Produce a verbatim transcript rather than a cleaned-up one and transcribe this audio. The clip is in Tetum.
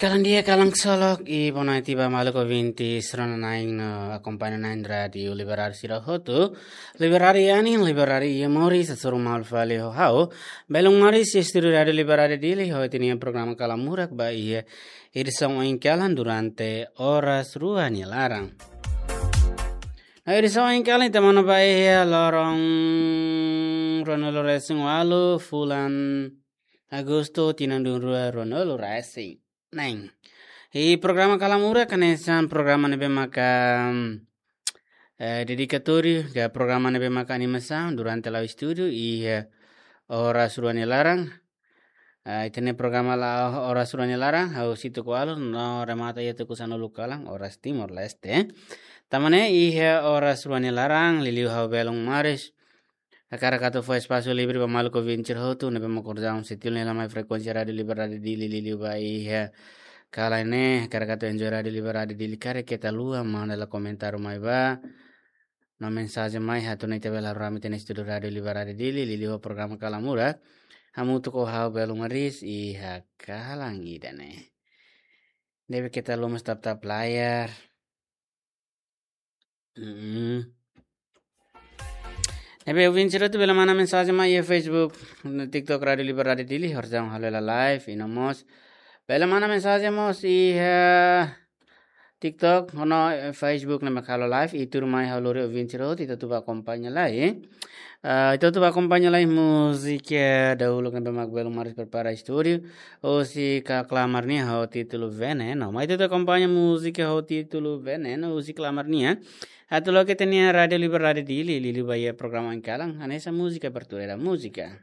Kalan di'ak, kalan ksolok, i bonaiti ba maluk ouvinte sira-ne'e no akompaña na'in Rádiu Liberal sira hotu. Liberal iha ne'e, Liberal iha moris, hasoru malu fali ho ha'u. Belun Maris, estúdiu Rádiu Liberal Dili, ho ita-nia programa Kalan Murak ba iha edisaun oin kalan durante oras rua nia laran. No edisaun oin kalan ita monu ba iha loron ruanulu resin ualu, fulan Agostu, tinan rua ruanulu resin neen. I programa Kalan Murak hanesan programa ne'ebé maka, eh, dedikatóriu, ka programa ne'ebé maka animasaun durante la'o estúdiu, i, eh, oras rua nia laran. Eh, ita-nia programa la'o oras rua nia laran, hahú husi tuku ualu, no remata iha tuku sanulu kalan, oras Timor-Leste. Tan ne'e iha oras rua nia laran, liuliu ha'u Belun Maris hakarak atu fó espasu livre ba maluk ouvinte sira hotu ne'ebé mak orsida sei tilun hela mai frekuénsia Rádiu Liberal Dili, liuliu ba iha kalan ne'e, hakarak atu enjoy Rádiu Liberal Dili, karik keta haluha manda hela komentáriu mai ba, no mensajen mai atu nune'e ita bele rame iha estúdiu Rádiu Liberal Dili, liuliu programa Kalan Murak, hamutuk ho ha'u Belun Maris iha kalan ida-ne'e. Ne'ebé keta haluha mós tap-tap layar. Mm. Ne'ebé ouvinte sira hotu bele manda mensajen mai iha Facebook, no TikTok Rádiu Liberal Dili, orsida halo hela live, i no mós bele manda mensajen mós iha TikTok, no, eh, Facebook ne'ebé halo live, i tuirmai ha'u lori ouvinte sira hotu, ita atu bá akompaña lai. Ah, ita atu bá akompaña lai múzika dahuluk ne'ebé mak Belun Maris prepara estúdiu. Husi Klamar nian ho títulu Veneno. Mai ita atu akompaña múzika ho títulu Veneno husi Klamar nian. Atu loke ita-nia Rádiu Liberal Dili, liuliu ba iha programa oin kalan, hanesan múzika, abertura da múzika.